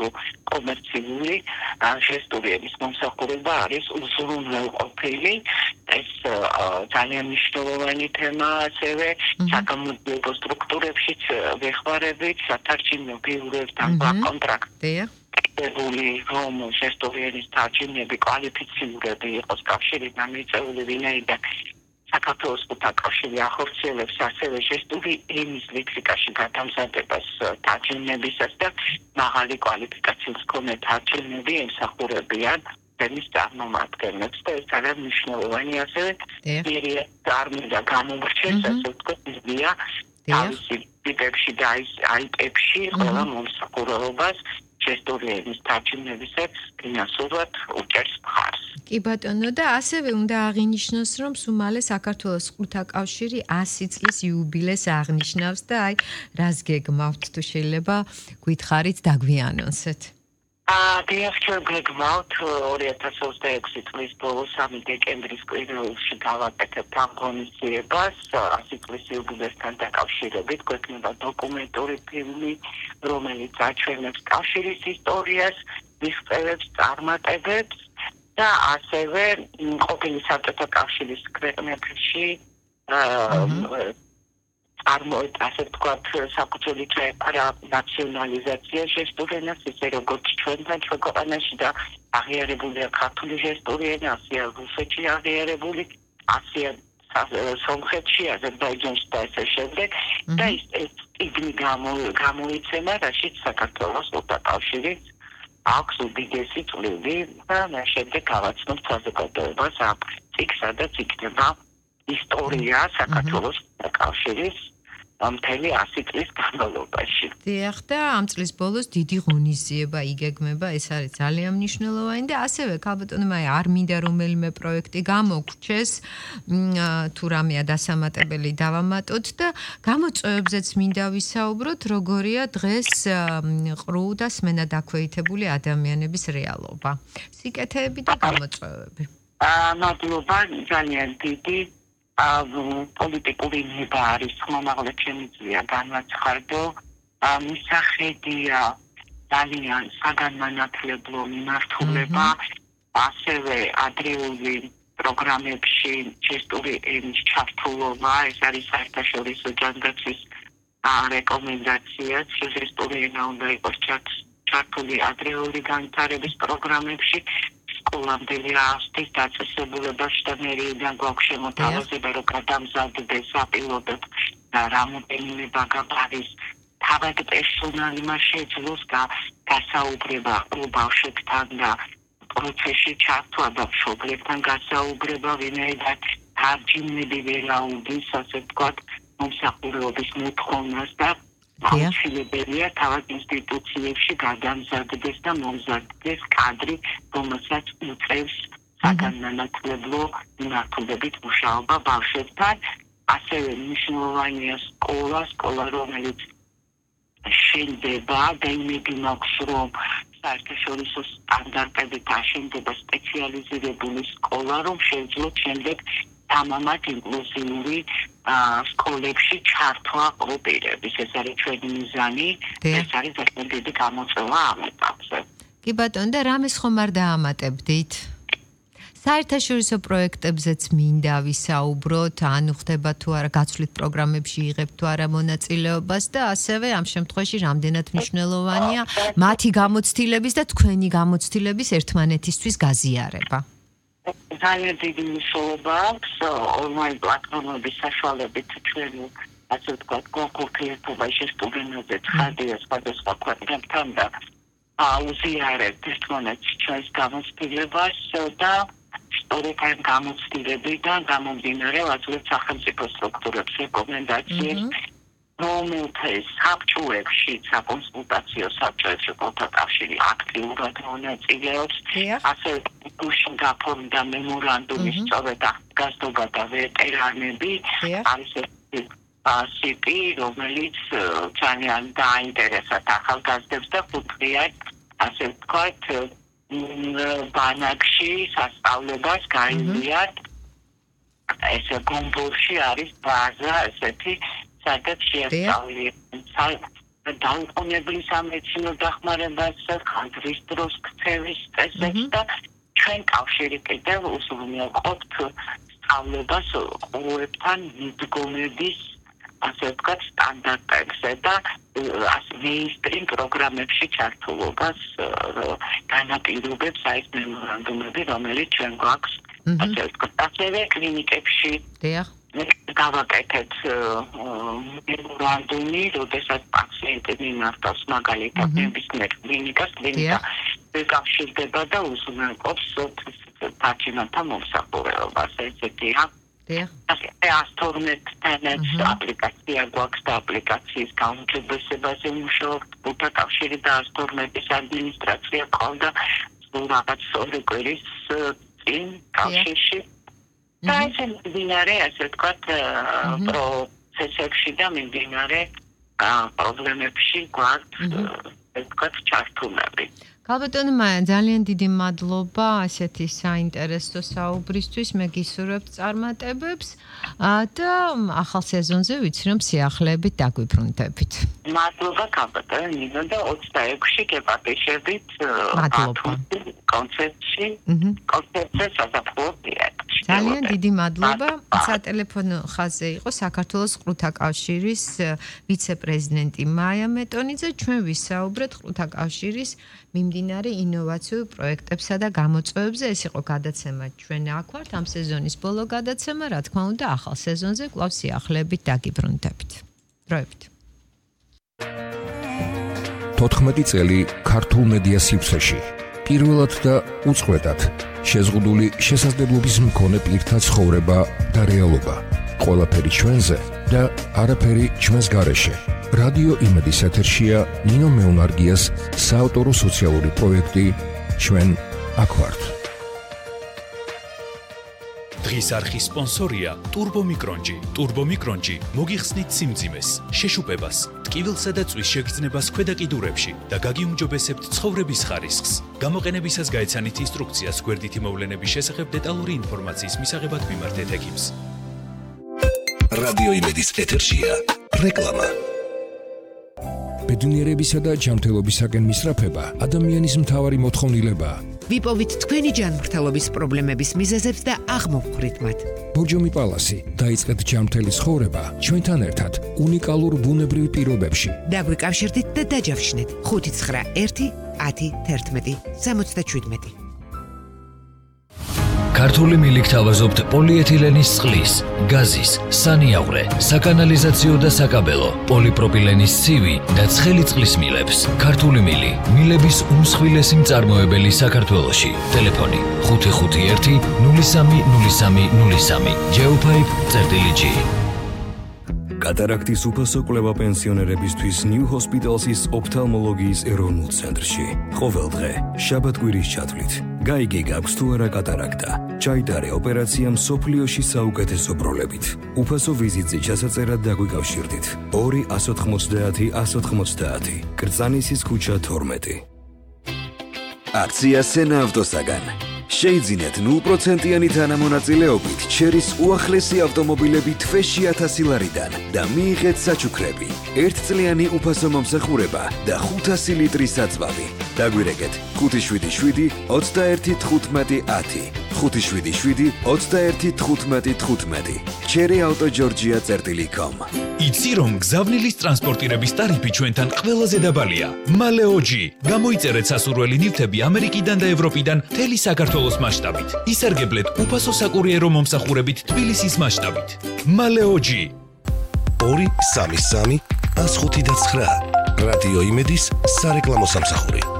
თუ კომერციული ჟესტური ენის მომსახურება არის უზრუნველყოფილი. ეს ძალიან მნიშვნელოვანი თემაა ასევე საგამოძიებო სტრუქტურებშიც ვეხმარებით სათარჩინო ბიუროებთან კონტრაქტია. რომ ჟესტური ენის თარჯიმნები კვალიფიციურები იყოს კავშირიდან მიწვეული ვინაიდან საქართველოს ხუთა კავშირი ახორციელებს ასევე ჟესტური ენის ლექსიკაში გადამზადებას თარჯიმნებისას და მაღალი კვალიფიკაციის მქონე თარჯიმნები ემსახურებიან თემის წარმომადგენლებს და ეს არის მნიშვნელოვანი ასევე არმია გამომრჩეს ასე ვთქვათ იზია თავისი ტიპებში და აიტებში ყველა მომსახურებას ჟესტური ენის თარჯიმნებისას ფინანსურად უჭერს მხარს. კი ბატონო და ასევე უნდა აღინიშნოს რომ სულ საქართველოს ხუთა კავშირი 100 წლის იუბილეს აღნიშნავს და აი რას გეგმავთ თუ შეიძლება გითხარით დაგვიანონსეთ. გეგმავთ 2026 წლის ბოლოს 3 დეკემბრის კვირაში გავაკეთებთ ამ ღონისძიებას 100 წლის იუბილესთან დაკავშირებით გვექნება დოკუმენტური ფილმი რომელიც აჩვენებს კავშირის ისტორიას მიღწევებს წარმატებებს და ასევე ყოფილი საბჭოთა კავშირის ქვეყნებში ასე ვთქვათ საფუძველი წეპარა ნაციონალიზაცია ჟესტური ენას ისე როგორც ჩვენთან ჩვენ ქვეყანაში და აღიარებულია ქართული ჟესტური ენა ასეა რუსეთში აღიარებული ასეა სომხეთში აზერბაიჯანში და ასე შემდეგ და ეს წიგნი გამოიცემა რაშიც საქართველოს ხუთა კავშირი აქვს უდიდესი წვლილი და შემდეგ გავაცნობთ საზოგადოებას ამ წიგნს სადაც იქნება ისტორია საქართველოს ხუთა კავშირის მთელი 100 წლის განმავლობაში. დიახ და ამ წლის ბოლოს დიდი ღონისძიება იგეგმება, ეს არის ძალიან მნიშვნელოვანი და ასევე ქალბატონმა არ მინდა რომელიმე პროექტი გამოგრჩეს, თუ რამეა დასამატებელი დავამატოთ და გამოწვევებზეც მინდა ვისაუბროთ, როგორია დღეს ყრუ და სმენა დაქვეითებული ადამიანების რეალობა. სიკეთეები და გამოწვევები. მადლობა ძალიან დიდი პოლიტიკური ნება არის ხმამაღლად შემიძლია განვაცხადო მისახედია ძალიან საგანმანათლებლო მიმართულება ასევე ადრეული პროგრამებში ჟესტური ენის ჩართულობა ეს არის საერთაშორისო ჯანდაცვის რეკომენდაციაც ჟესტური ენა უნდა იყოს ჩართული ადრეული განვითარების პროგრამებში სკოლამდელი ასეთის დაწესებულებაში და მერიდან გვაქვს შემოთავაზება რომ გადამზადდეს საპილოტოდ რამოდენიმე ბაგაბარის თავად პერსონალი მას შეძლოს გასაუბრება ბავშვებთან და პროცესში ჩართვა და მშობლებთან გასაუბრება ვინაიდან თარჯიმნები ვერაუდის ასე ვთქვათ მომსახურების მოთხოვნას და აუცილებელია თავად ინსტიტუციებში გადამზადდეს და მომზადდეს კადრი, რომელსაც უწევს საგანმანათლებლო მიმართულებით მუშაობა ბავშვებთან. ასევე მნიშვნელოვანია სკოლა, რომელიც შენდება და იმედი მაქვს, რომ საერთაშორისო სტანდარტებით აშენდება სპეციალიზირებული სკოლა, რომ შეძლოთ შემდეგ თამამად ინკლუზიური სკოლებში ჩართვა ოპერების. ეს არის ჩვენი მიზანი, ეს არის ძალიან დიდი გამოწვევა ამ ეტაპზე. კი ბატონო, და რამეს ხომ არ დაამატებდით? საერთაშორისო პროექტებზეც მინდა ვისაუბროთ, ანუ ხდება თუ არა გაცვლით პროგრამებში იღებთ თუ არა მონაწილეობას და ასევე ამ შემთხვევაში რამდენად მნიშვნელოვანია მათი გამოცდილების და თქვენი გამოცდილების ერთმანეთისთვის გაზიარება. ძალიან დიდი მნიშვნელობა აქვს ონლაინ პლატფორმების საშუალებით ჩვენ ასე ვთქვათ კონკურსირება ჟესტური ენაზე ცხადია სხვადასხვა ქვეყნებთან და აუზიარებთ ერთმანეთს ჩვენს გამოცდილებას და სწორედ ამ გამოცდილებიდან გამომდინარე ვაძლევთ სახელმწიფო სტრუქტურებს რეკომენდაციებს რომელთა საბჭოებში საკონსულტაციო საბჭოებში ხუთა კავშირი აქტიურად მონაწილეობს ასევე გუშინგაფორმა და მემორანდუმის სწორედ გასდობა და ვეტერანები არის სიპი რომელიც ძალიან დაინტერესებს ახალგაზრდებს და ხუთღიად ასე ვთქვათ ბანაკში სასწავლებას გაიზიართ ესე გომბოლში არის ბაზა ესეთი სადაც შეასწავლიან დაუყოვნებლი სამედიცინო დახმარებას, ხანძრის დროს ქცევის წესებს და ჩვენ კავშირი კიდევ უზრუნველყოფთ სწავლებას ყურებთან მიდგომების ასე ვთქვათ სტანდარტებზე და მეინსტრიმ პროგრამებში ჩართულობას განაპირობებს ეს მემორანდუმები, რომელიც ჩვენ გვაქვს ასე ვთქვათ ასევე კლინიკებში გავაკეთეთ მემორანდუმი, როდესაც პაციენტები მართავს მაგალითად ნებისმიერ კლინიკას ეკავშირდება და უზრუნველყოფს პაციენტთა მომსახურებას, ესეთია. AS12 აპლიკაცია გვაქვს და აპლიკაციის გაუმჯობესებაზე მუშაობთ, უთა კავშირი და AS12-ის ადმინისტრაცია ყავდა რაღაც 2 კვირის წინ კავშირში. და ესე მიმდინარე, ასე ვთქვათ, პროცესებში და მიმდინარე პრობლემებში გვაქვს, ასე ვთქვათ, ჩართულები. ქალბატონო მაია, ძალიან დიდი მადლობა ასეთი საინტერესო საუბრისთვის. მე გისურვებთ წარმატებებს და ახალ სეზონზე ვიცი რომ სიახლეებით დაგვიბრუნდებით. მადლობა ქალბატონო ნინო და 26-ში გეპატიშებით კონცერტში, კონცერტზე საზაფხულო თეატრში. ძალიან დიდი მადლობა. სატელეფონო ხაზზე იყო საქართველოს ყრუთა კავშირის ვიცე-პრეზიდენტი მაია მეტონიძე. ჩვენ ვისაუბრეთ ყრუთა კავშირის მიმდინარე ინოვაციურ პროექტებსა და გამოწვევებზე. ეს იყო გადაცემა ჩვენ აქ ვართ, ამ სეზონის ბოლო გადაცემა, რა თქმა უნდა, ახალ სეზონზე კვლავ სიახლეებით დაგიბრუნდებით. დროებით. 14 წელი ქართულ მედია სივრცეში. პირველად და უწყვეტად შეზღუდული შესაძლებლობის მქონე პირთა ცხოვრება და რეალობა. ყველაფერი ჩვენზე და არაფერი ჩვენს გარეშე. რადიო იმედის ეთერშია ნინო მეუნარგიას საავტორო სოციალური პროექტი ჩვენ აქ ვართ. დღის არხის სპონსორია ტურბომიკრონჯი. ტურბომიკრონჯი მოგიხსნით სიმძიმეს, შეშუპებას, ტკივილსა და წვის შეგრძნებას ქვედა კიდურებში და გაგიუმჯობესებთ ცხოვრების ხარისხს. გამოყენებისას გაეცანით ინსტრუქციას გვერდითი მოვლენების შესახებ დეტალური ინფორმაციის მისაღებად მიმართეთ ექიმს. რადიო იმედის ეთერშია რეკლამა. ბედნიერებისა და ჯანმრთელობისაკენ მისწრაფება ადამიანის მთავარი მოთხოვნილებაა. ვიპოვით თქვენი ჯანმრთელობის პრობლემების მიზეზებს და აღმოვხვრით მათ. ბორჯომი პალასი დაიწყეთ ჯანმრთელი ცხოვრება ჩვენთან ერთად უნიკალურ ბუნებრივ პირობებში. დაგვიკავშირდით და დაჯავშნეთ 591 10 11 77. ქართული მილიქ თავაზობთ პოლიეთილენის წყლის, გაზის, სანიავრე, საკანალიზაციო და საკაბელო, პოლიპროპილენის ცივი და ცხელი წყლის მილებს. ქართული მილი, მილების უმსხვილესი მწარმოებელი საქართველოში. ტელეფონი 551 030303. geopipe.g. კატარაქტის უფასო კვლევა პენსიონერებისთვის New Hospital's ოფთალმოლოგიის ეროვნულ ცენტრში. ყოველ დღე, შაბათ-კვირის ჩათვლით. გაიგე გაქვს თუ არა კატარაქტა. ჩაიტარე ოპერაცია მსოფლიოში საუკეთესო პროლებით. უფასო ვიზიტზე ჩასაწერად დაგვიკავშირდით. 2 190 190. კრწანისის ქუჩა 12. აქცია სენა ავტოსაგან. შეიძინეთ 0%-იანი თანამონაწილეობით ჩერის უახლესი ავტომობილები თვეში 1000 ლარიდან და მიიღეთ საჩუქრები, 1 წლიანი უფასო მომსახურება და 500 ლიტრის საწვავი. დაგვირეკეთ 577 21 15 10. 577 21 15 15. cherryauto.georgia.com. იცი რომ გზავნილის ტრანსპორტირების ტარიფი ჩვენთან ყველაზე დაბალია. მალეოჯი. გამოიწერეთ სასურველი ნივთები ამერიკიდან და ევროპიდან მთელი საქართველოს მასშტაბით. ისარგებლეთ უფასო საკურიერო მომსახურებით თბილისის მასშტაბით. მალეოჯი. 233 105 და 9. რადიო იმედის სარეკლამო სამსახური.